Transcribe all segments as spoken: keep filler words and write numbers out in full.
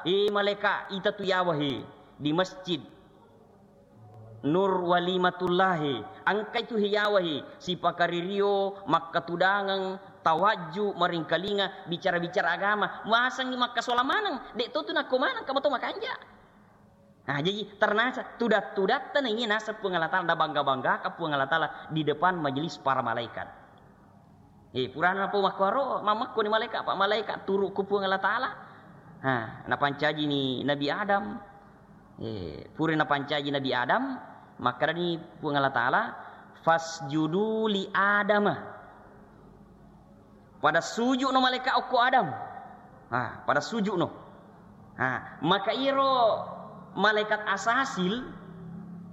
Eh, malaika, ita tu yawa he di masjid Nur Walimatullah he. Engkai tu he yawa he, sipakaririo, makkatudangeng, tawajju, maringkalinga, bicara-bicara agama. Masengngi makkasola maneng, de' to tu nakko maneng, kamu to makanja. Nah, jadi ternasa tudat-tudatta naiya naseng Puang Allah Ta'ala, nabangga-banggaka Puang Allah Ta'ala di depan majelis para malaikat. Eh, purana napo makkuaro, mammekko ni malaika, apa malaika turu ku Puang Allah Ta'ala. Ha, napancaji ni Nabi Adam. Eh, pura napancaji Nabi Adam, makkedani Puang Allah Ta'ala, "Fasjudu li Adama." Pada suju'no malaika okko Adam. Ha, pada suju'no. Ha, maka iro malaikat Asasil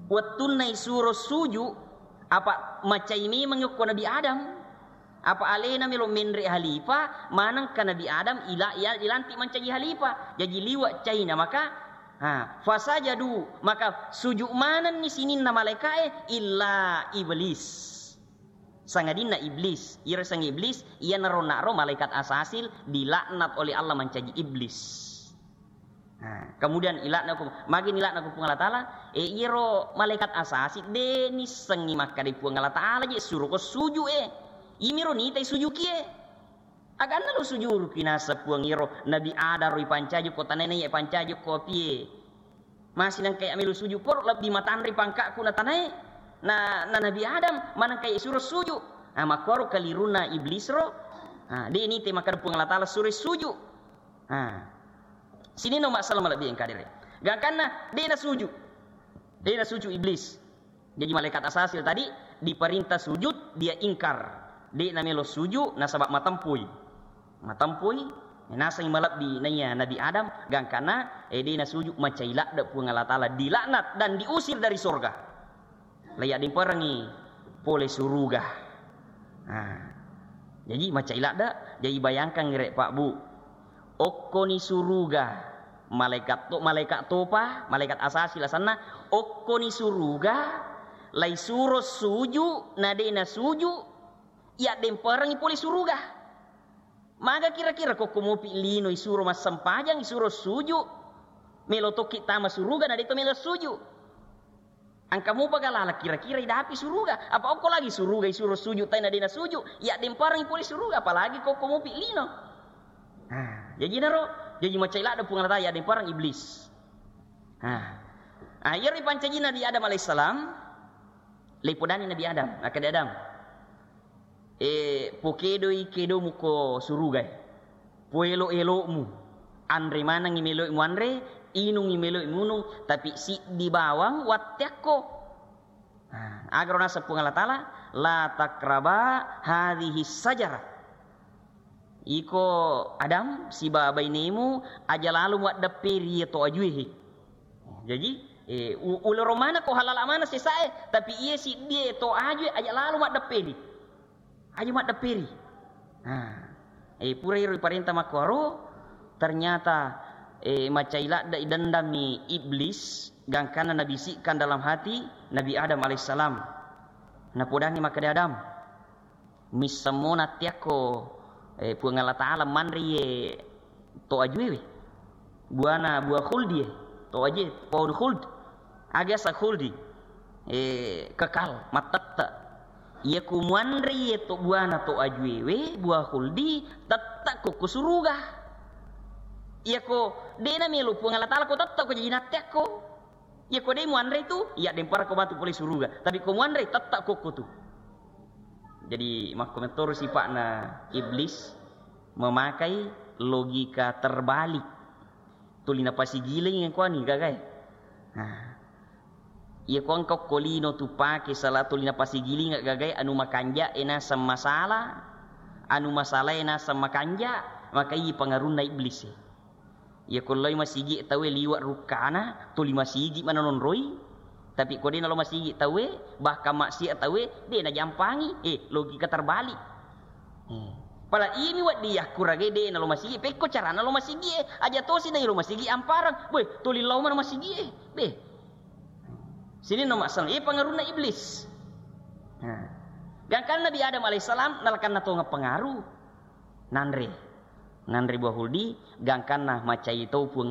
wettunna isuro suju, apa macai memang okko Nabi Adam. Apa alena melo menre halifa, manengka Nabi Adam ila-, iya-, ilanti mancaji halifa. Jaji liwa caina maka, ha, fasajadu, maka suju manenni sininna malaikae illa Iblis. Sangadinna Iblis, iro sang Iblis, iyanaro naro malaikat Asasil dilaknat oleh Allah mancaji Iblis. Nah, kemudian ilakna ku, magi nilakna ku Puang Allah Ta'ala, eh, iyaro malaikat Asasil de nissengngi makkeda Puang Allah Ta'ala je suruko suju e. Imiro nitai sujuki e. Aganna lo sujuruki naseng Puang iro Nabi Adam ro ipancaji ko tanae na iya pancaji ko apie. Masi nengka iya melo suju poro lebbi matanre pangkakku na tanae. Na, na Nabi Adam manengka iya suro suju. Ah, makkoro kaliruna Iblis ro. Ah, de nitai makkeda Puang Allah Ta'ala suro suju. Ah. Sininna umma selleng malebbi engka dere. Gangkanna de nasuju. De nasuju Iblis. Jadi malaikat Asasil tadi diperintah sujud, dia ingkar. De namelo suju nasaba matempui. Matempui, nasengngi malebbi naiya Nabi Adam, gangkanna, eh, de nasuju macai ladde Puang Allah Ta'ala, dilaknat dan diusir dari surga. Laiyaddemperengngi pole suruga. Nah, jadi macai ladde, jadi bayangkan ngere Pak Bu. Okkoni suruga, malaikat to-, malaikat topa, malaikat Asasil asenna, okkoni suruga, laisuro suju, na de nasuju, yaddemperengngi pole suruga. Maga kira-kira kokko mopi lino isuro massempajang, isuro suju, melo tokki tama suruga, na de to melo suju. Engka mupa galala kira-kira idapi suruga. Apa okko lagi suruga isuro suju, taina de nasuju, yaddemperengngi pole suruga, apalagi kokko mopi lino. Nah, jaji naro, jaji macai ladde Puang Allah Ta'ala yaddempereng Iblis. Nah, ah, iyaro ipancaji Nabi Adam alaihissalam, leipodani Nabi Adam, makkeda Adam, eh, pokedoi kedomu ko surugae. Poelo-elo'mu. Anre manengngi melo'i muanre, inungngi melo'i munung, tapi siddi bawang watteakko. Nah, agaro naseng Puang Allah Ta'ala, "La taqraba hadhihi syajara." Iko Adam siba bainemu aja lalo muaddepperi iya to ajue he. Jaji, eh, u-, ulero maneng ko halala maneng sesae, tapi iye siddie to ajue aja lalo muaddepperi. Aja muaddepperi. Nah, eh, pura iro iparenta makkuaro, ternyata, eh, macai ladde idendammi Iblis, gangkanna nabisikkan dalam hati Nabi Adam alaihissalam. Napodanni makkeda Adam, missemmo nattiakko, eh, Puang Allah Ta'ala manre iye to ajuewe. Buana buah khuldi e. To aje, pohon khuld. Aga sa khuldi. Eh, kekal, mattette. Iya ku muanre iye to buana to ajuewe, buah khuldi, tette'ko ko suruga. Iya ko de namelo Puang Allah Ta'ala ko tette'ko jaji natteakko. Iya ko de muanre tu, iya demparko matu pole suruga. Tapi ko muanre, tette'ko ko tu. Jadi, makko metoro sipa'na Iblis memakai logika terbalik. Tuli napasigiling kuani gagae. Nah, iya ko engka ko lino tu pake sala tuli napasigiling gagae anu makanja e naseng masala, anu masala e naseng makanja, maka iya pangarunna Iblis e. Iya ko loi masigi tauwe liwa rukkana, tuli masigi mana nonroi. Tapi ko de nalo masigi tauwe, bahkan maksiat tauwe, de najampangi. Eh, logika terbalik. Eh. Pala imi wedding yakkuragai de nalo masigi, pekko carana lo masigi e, aja tosi dai lo masigi amparang. Boy, tuli lao mana masigi e. Be. Sini no masalah, eh, pengaruhna Iblis. Nah. Gangkan Nabi Adam alaihissalam nalakanna tonga pengaruh. Nanre. Nanre buah khuldi, gangkanna macai tau Puang